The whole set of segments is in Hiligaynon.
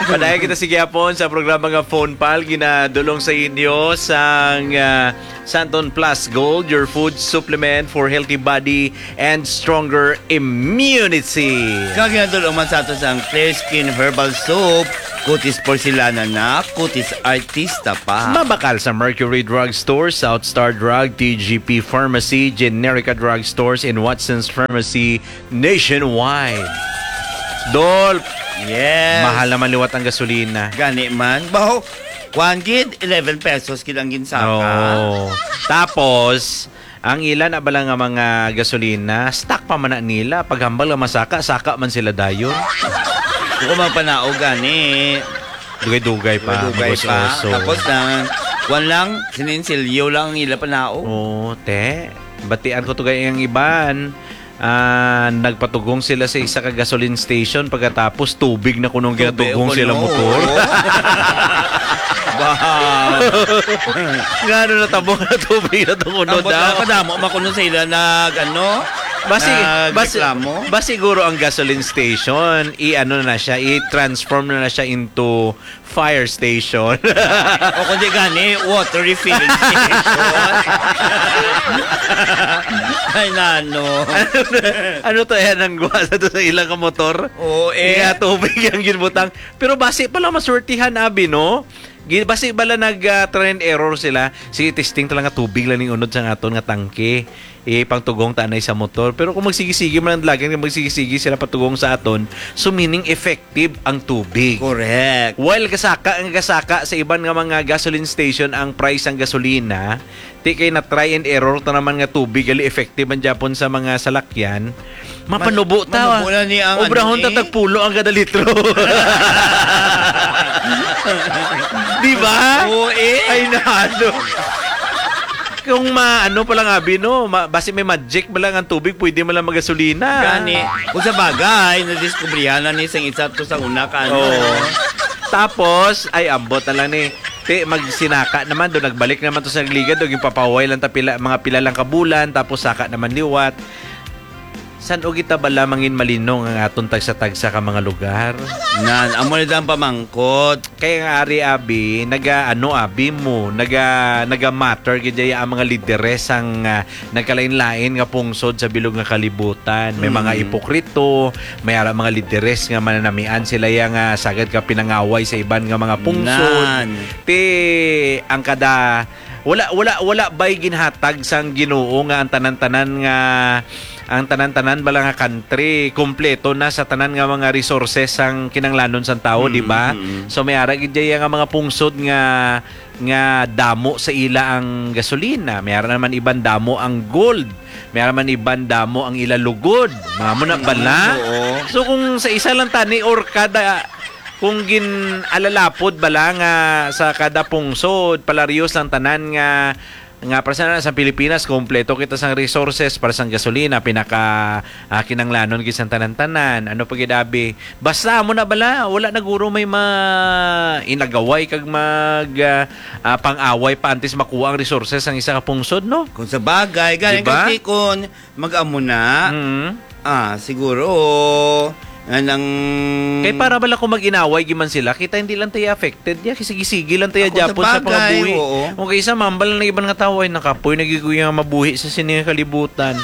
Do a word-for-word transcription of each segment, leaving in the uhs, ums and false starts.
Padayon kita sa gihapon sa programa nga Phone Pal, ginadulong sa inyo sang, ah, Santon Plus Gold, your food supplement for healthy body and stronger immunity. Kag ginadulong man sa ato sang Clear Skin Herbal Soap, kutis porselana na, kutis artista pa. Mabakal sa Mercury Drug Store, South Star Drug, T G P Pharmacy, Generica Drug Stores, and Watson's Pharmacy nationwide. Dol, Yes. mahal naman liwat ang gasolina. Gani man. Baho, kuwan gid, eleven pesos gid ang ginsaka. Oo. Tapos, ang ila na bala nga mga gasolina, stock pa man na nila. Paghambal nga masaka, saka man sila dayon. Kung magpanaog gani. Dugay-dugay pa, Dugay pa. Magos-oso. Tapos na, kuwan lang, sininsilyo lang ang ila panaog. Oo, te. Batian ko to gay ang iban. Ah, nagpatugong sila sa isa ka gasoline station, pagkatapos tubig na kunong Tubig ginatugong kuno, sila motor. Oo. Ba? Nga ano natabo na tubig na to kuno Ang daw? Kadamo makuno sa ila nag, ano, Basi, basi, nagreklamo? Basi siguro ang gasoline station, i-ano na siya, i-transform na na siya into fire station. O kundi gani, water refilling station. Ay, nano. Ano to, yan ang guwa sa to sa ilang ka motor? Oo, eh. Nga tubig ang ginbutang. Pero basi pala maswertihan, abi, no? Gi-, basi bala nag, ah, try and error sila. Sige, testing talaga tubig lang ning unod sa aton nga tangke. Ipangtugong ta anay sa motor. Pero kung magsigi-sigi man ang dalagan, kung magsigi-sigi sila patugong sa aton, so meaning effective ang tubig. Correct. While gasaka, ang gasaka sa iban nga mga gasoline station ang price sang gasolina, ti kay na try and error ta naman nga tubig, gali effective man gyapon sa mga salakyan. Mapanubo ta. Manubo na ni ang Obrahon ano, ta eh. Tagpulo ang kada litro. Di ba? Oo, eh. Ay, nalo. Kung ma-, ano pa lang, abi, no? Ma-, basi may magic pa lang ang tubig, pwede man lang magasolina. Gani. Kung sa bagay, nadiskubrihan na ni sang isa to sa una ka, ano. Oo. Tapos, ay, ambot na lang ni. Ti, magsinaka naman, do nagbalik naman to sa Liga, do, yung papahuway lang ta pila, mga pila lang ka bulan, tapos saka naman liwat. San-o kita bala mangin malinong ang aton tagsa-tagsa ka mga lugar? Nan, amo na ang pamangkot. Kaya nga ari, abi, naga, ano, abi mo, naga, naga-matter gid ang mga lideres ang, ah, nagkalain-lain nga pungsod sa bilog nga kalibutan. May mga Mm. ipokrito, may ara mga lideres nga mananamian sila ya nga sagad ka pinangaway sa iban nga mga pungsod. Nan. Ti, ang kada, wala, wala, wala ba'y ginhatag sang Ginoo nga ang tanan-tanan nga, ang tanan-tanan bala nga country, kompleto na sa tanan nga mga resources sang kinanglanon sang tawo, Mm, di ba? mm. So, may ara gid dyan nga mga pungsod nga, nga damo sa ila ang gasolina, may ara naman iban damo ang gold, may ara man iban damo ang ila lugod. Mga mo na bala? Mm, oo. So, kung sa isa lang tani or kada, kung gin-alalapod bala nga sa kada pungsod, palarios lang tanan nga, nga para sa, sa Pilipinas, kompleto kita sang resources para sang gasolina, pinaka, ah, kinanglanon gid sang tanan-tanan. Ano pa gid, abi? Basta amo na bala, wala na guro may ma-, inagaway kag mag, ah, ah, pang-away pa antes makuha ang resources ang isa ka pungsod, no? Kung sa bagay, galing Diba? kay Tikon, mag-amo na. Mm. Ah, siguro, nga nang Kay para bala kung mag-inaway giman sila, kita hindi lang tayo affected. Ya, sige-sige lang tayo Ako, sa gyapon sa bagay, pangabuhi. Oo. Kung kaysa mambal na iban nga tao ay nakapoy, nagiguya nga mabuhi sa sini nga kalibutan.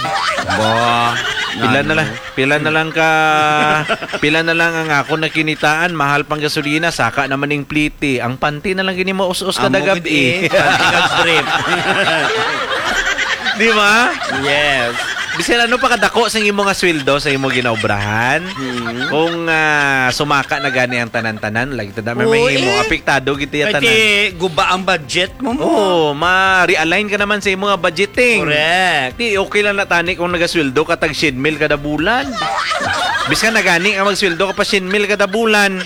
Ba, Pila na nano? lang, pila na lang ka, pila na lang ang ako nakinitaan, mahal pang gasolina, saka naman ning pliti. Ang panty na lang gini mo us-us Amo kada gid gabi. eh, panty kag brief. Di ba? Yes. Bisan ano pa kadako sa imo nga sweldo sa imo ginaobrahan, Hmm. kung, ah, sumaka na gani ang tanan-tanan, lagi ta na may Oo, mahimo, eh. apektado gid iya Kay tanan. ti guba ang budget mo mo. Oo, ma-realign ka naman sa imo nga budgeting. Correct. Di, okay lang na tani kung nagasweldo ka tag syen mil kada bulan. Bisan na gani nga magsweldo ka pa syen mil kada bulan.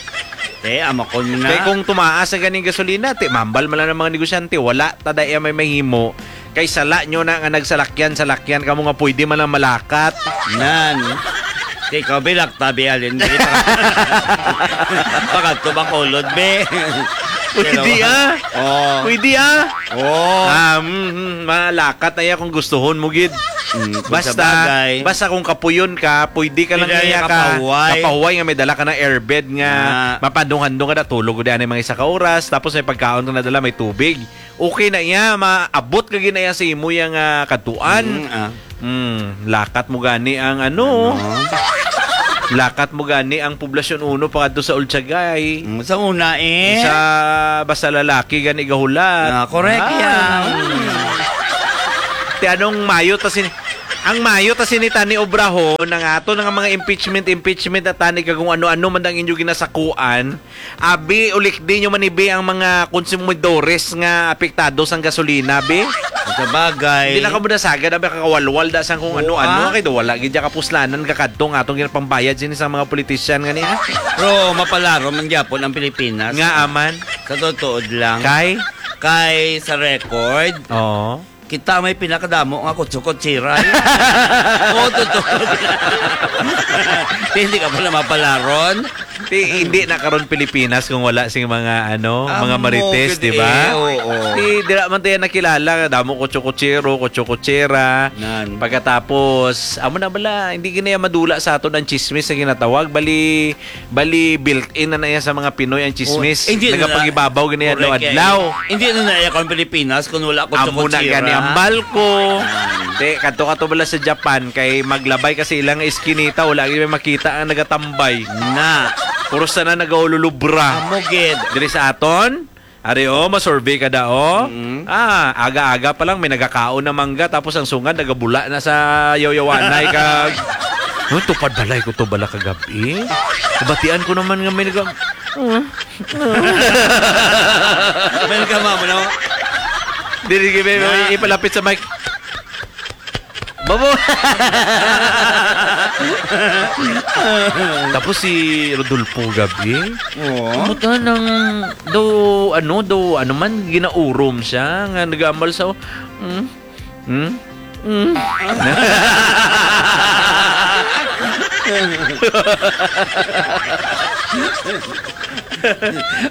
Eh, amakon na. Kay kung tumaas ang ganing gasolina, ti, mambal man lang ang mga negosyante, wala ta dai may mahimo. Kay sala nyo na nga nagsalakyan-salakyan kamo nga pwede man lang malakat. Nan. Kay ikaw, bilak tabi, alin, be. Pakadto ba kulod, be? Pwede, Pero, ah. Oo. Pwede, ah. Oo. Ah, mm, mm, malakat na iya kung gustuhon mo, gid. Mm, kung sa Basta, bagay. basta kung kapuyon ka, pwede ka lang Pwede niya ka kapahuway. kapahuway nga may dala ka ng airbed nga Ah. mapadung-handong ka na, tulog ko di anay mga isa ka oras, tapos may pagkaon ka na dala, may tubig. Okay na iya, maabot ka gina iya sa imo yang, ah, katuan. Mm, ah. Hmm, lakat mo gani ang ano. Ano? Lakat mo gani ang Poblacion Uno pangadto sa Ultiagay. Mm, sa una, eh. Sa basta lalaki gani gahulat. Ah, correct Ah. yan. Ti anong mayo ta sini, ang mayo ta sini tani obrahon ang ato nga mga impeachment, impeachment na tani kag kung ano-ano man ang inyo ginasakuan. Abi, ulikdi nyo man ibi ang mga konsumidores nga apektado sang gasolina, bi. Sa bagay. Hindi na kamo nasagad, abi, kakawalwal da sang kung Oo, ano-ano, ah. kay do wala gid ya kapuslanan kakadto nga atong ginapambayad sini sa mga politician nga niya. Pero mapalaro man gyapon ang Pilipinas. Nga aman. Sa totoo lang. Kay? Kay sa record, Oo. kita may pinakadamo nga kutso-kutsira. Oo, totoo. Hindi ka pala mapalaron. Ti, hindi na karon Pilipinas kung wala sing mga, ano, Amo mga marites, gid, di ba? eh, oo. Ti, dira man tayo nakilala, damo kutso-kutsero, kutso-kutsera. Nan. Pagkatapos, amo na bala, hindi gina madula sa aton ang chismis na ginatawag. Bali, bali built-in na na yan sa mga Pinoy ang chismis. Oh, hindi na na. Nagapagibabaw gina yan Correct, adlaw. eh. Hindi na na yan kung Pilipinas kung wala ko Amo na kutso-kutsera. gani ang balko. Nan. Te, kadto ka to bala sa Japan, kay maglabay kasi ilang iskinita, wala gyud may makita ang nagatambay. Na. Puro sana nagaululubra. Amo gid. Diri sa aton, ari, oh, masurvey ka da, oh. Mm. Ah, aga-aga pa lang may nagakaon na mangga, tapos ang sungad nagabula na sa yawyawanay kag, "Uy, tupad balay ko to bala kagabi. Kabatian ko naman nga may naga-" May nagkama mo na. Dili, may, may Na. ipalapit sa mic. Babo. Tapos si Rodolfo gabi. Oo. Kumusta nang daw, ano, daw, ano man, ginaurom siya, nga nag-amal sa, hmm? Hmm? Hmm?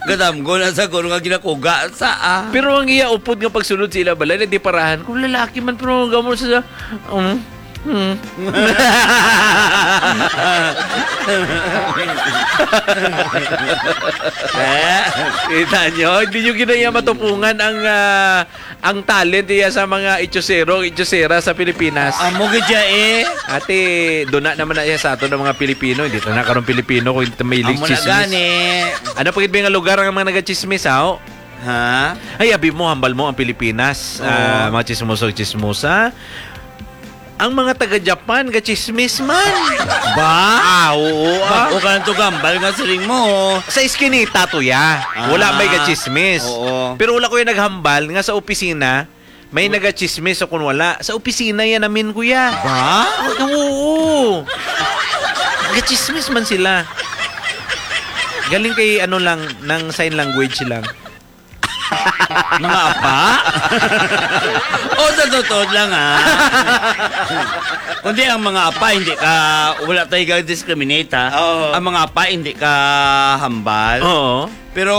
Gadam ko na sa kuno nga ginakuga sa, ah. Pero ang iya upod nga pagsulod sa ila balay, nagdiparahan. Kung lalaki man, pero ang gamol sa, um, hmm. Eh? Kita nyo, hindi nyo ginaya matupungan ang, ah, ang talent iya sa mga itsosero, itsosera sa Pilipinas. Amo gid siya, eh. Ate, duna naman na iya sa ato ng mga Pilipino. Hindi ta na karon Pilipino kung hindi ta mahilig Amo na chismis. gani. Ano pa gid ba nga lugar ang mga nagachismis, ha? Ha? Ay, abi mo, hambal mo ang Pilipinas. Oo. Ah, mga chismoso, chismosa. Ang mga taga Japan, gachismis man. Ba? Ah, oo, ah. Bag-o ka lang to gambal nga siling mo. Sa iskinita to, ya. Ah, Wala may gachismis. oo. Pero wala ko yung naghambal nga sa opisina, may nagachismis o kung wala. Sa opisina yan namin, kuya. Ba? Oo. Gachismis man sila. Galing kay ano lang, ng sign language lang. Mga apa? O, sa totoo lang, ha? Kundi ang mga apa, hindi ka, wala tayo ga-discriminate, ha? Oo. Ang mga apa, hindi ka hambal. Oo. Pero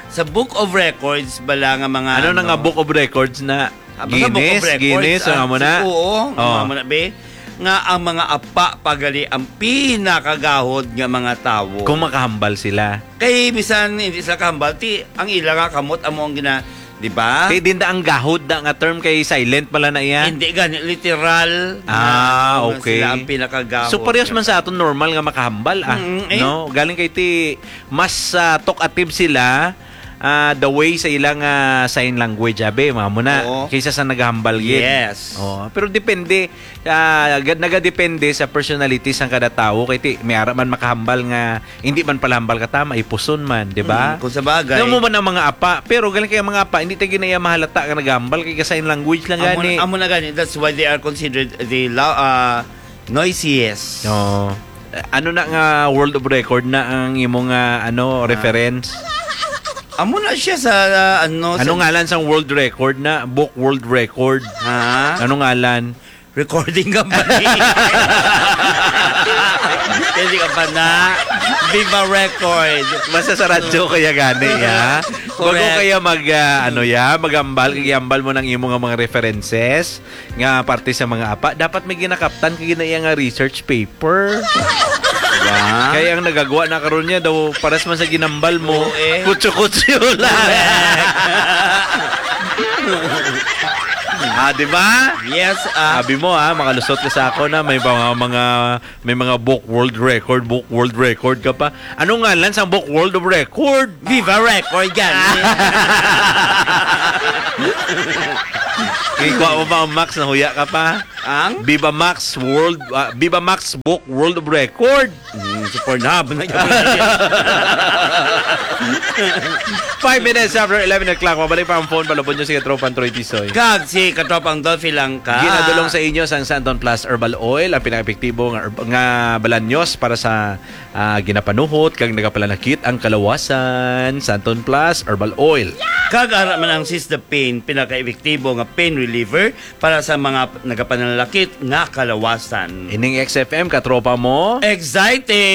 sa Book of Records bala nga mga Ano na ano, nga Book of Records na? Ah, basta Book of Guinness, Records, Guinness, ah, ang amo na? Oo, ang Oh. amo na, be. Nga ang mga apa pa gali ang pinakagahod nga mga tawo. Kung makahambal sila. Kay bisan hindi sila kahambal, ti ang ila nga kamot amo ang gina-, di ba? Kay dinda ang gahod da nga term kay silent pala na iya. Hindi gani literal Ah, nga okay. sila ang pinakagahod So, parehas nga man sa aton normal nga makahambal, ah, Mm, eh. no? Galing kay ti mas, ah, talkative sila, ah, the way sa ilang, ah, sign language, abi, mga muna, Oo. kaysa sa naghambal gid. Yes. Oo. Pero depende, ah, ga-, nagadepende sa personality sang kada tawo. Kay ti, may ara man makahambal nga, hindi man pala hambal ka tama, ipuson man, di ba? Mm, kung sa bagay. Nga mo man ang mga apa, pero galing kay ang mga apa, hindi tayo ginaya mahalata nga naghambal, kay ka sign language lang Amo, gani. amo na gani, that's why they are considered the la-, ah, noisiest. Oo. Ano na nga world of record na ang imo nga, ano, Ah. reference? Amo na siya sa, ah, ano, Ano sa ngalan sang world record na? Book world record. Ha? Ano ngalan? Recording company. Hindi ka pa na. Viva Record. Basta sa radyo kaya gani, ya. Bago Correct. kaya mag, ah, ano, ya, magambal, kag iambal mo ng imo nga mga references nga parte sa mga apa, dapat may ginakaptan kay gina iya nga research paper. Diba? Kaya ang nagagawa na karon niya daw, paras man sa ginambal mo, Oo, eh. kutso-kutso lang. Ah, di ba? Yes, ah. Sabi mo, ah, makalusot ka sa ako na may mga, mga, may mga book world record, book world record ka pa. Ano ngalan sa book world of record? Viva Record, gani. Ikaw mo ba ang Max, nahuya ka pa? Ang? Viva Max World, ah, Viva Max Book World of Record. Mm, sa Pornhub na yun. Five minutes after eleven o'clock, mabalik pa ang phone, palubon nyo si Katropang Troy Tisoy. Kag si Katropang Dolphy lang ka. Ginadulong sa inyo sang Santon Plus Herbal Oil, ang pinaka-epektibo nga, herb- nga balanyos para sa, ah, ginapanuhot kag nagapalanakit ang kalawasan. Santon Plus Herbal Oil. Kag ara man ang Sis the Pain, pinaka-epektibo nga pain reliever para sa mga nagapanalakit nga kalawasan. Ining X F M, katropa mo. Exciting!